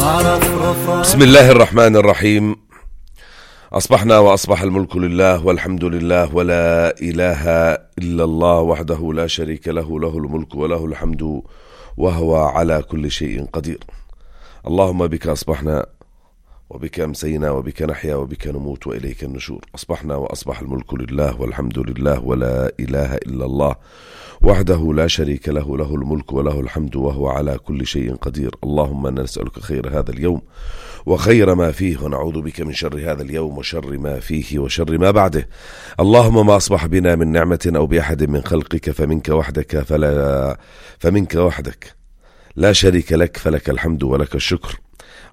بسم الله الرحمن الرحيم. أصبحنا وأصبح الملك لله والحمد لله ولا إله إلا الله وحده لا شريك له، له الملك وله الحمد وهو على كل شيء قدير. اللهم بك أصبحنا وبك أمسينا وبك نحيا وبك نموت وإليك النشور. أصبحنا وأصبح الملك لله والحمد لله ولا إله إلا الله وحده لا شريك له، له الملك وله الحمد وهو على كل شيء قدير. اللهم نسألك خير هذا اليوم وخير ما فيه، ونعوذ بك من شر هذا اليوم وشر ما فيه وشر ما بعده. اللهم ما أصبح بنا من نعمة أو بأحد من خلقك فمنك وحدك لا شريك لك، فلك الحمد ولك الشكر.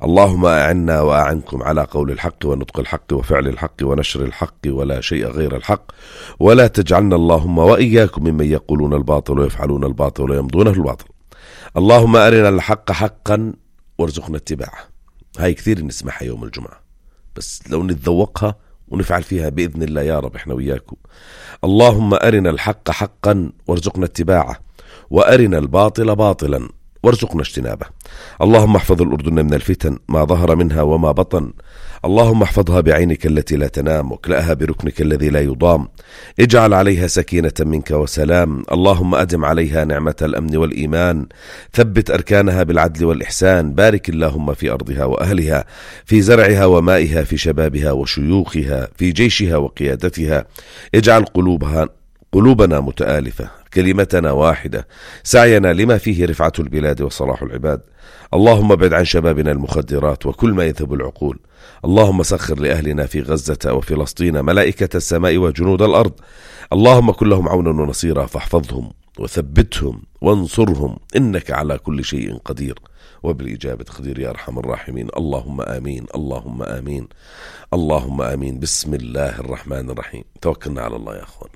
اللهم أعنا وأعنكم على قول الحق ونطق الحق وفعل الحق ونشر الحق ولا شيء غير الحق، ولا تجعلنا اللهم وإياكم ممن يقولون الباطل ويفعلون الباطل ويمضونه الباطل. اللهم أرنا الحق حقا وارزقنا اتباعه. هاي كثير نسمعها يوم الجمعة، بس لو نتذوقها ونفعل فيها بإذن الله يا رب إحنا وياكم. اللهم أرنا الحق حقا وارزقنا اتباعه، وأرنا الباطل باطلا وارزقنا اجتنابه. اللهم احفظ الأردن من الفتن ما ظهر منها وما بطن. اللهم احفظها بعينك التي لا تنام، واكلأها بركنك الذي لا يضام. اجعل عليها سكينة منك وسلام. اللهم أدم عليها نعمة الأمن والإيمان، ثبت أركانها بالعدل والإحسان. بارك اللهم في أرضها وأهلها، في زرعها ومائها، في شبابها وشيوخها، في جيشها وقيادتها. اجعل قلوبنا متآلفة، كلمتنا واحدة، سعينا لما فيه رفعة البلاد وصلاح العباد. اللهم ابعد عن شبابنا المخدرات وكل ما يذهب العقول. اللهم سخر لأهلنا في غزة وفلسطين ملائكة السماء وجنود الأرض. اللهم كن لهم عونا ونصيرا، فاحفظهم وثبتهم وانصرهم، إنك على كل شيء قدير وبالإجابة قدير يا أرحم الراحمين. اللهم آمين، اللهم آمين، اللهم آمين. بسم الله الرحمن الرحيم. توكلنا على الله يا أخوان.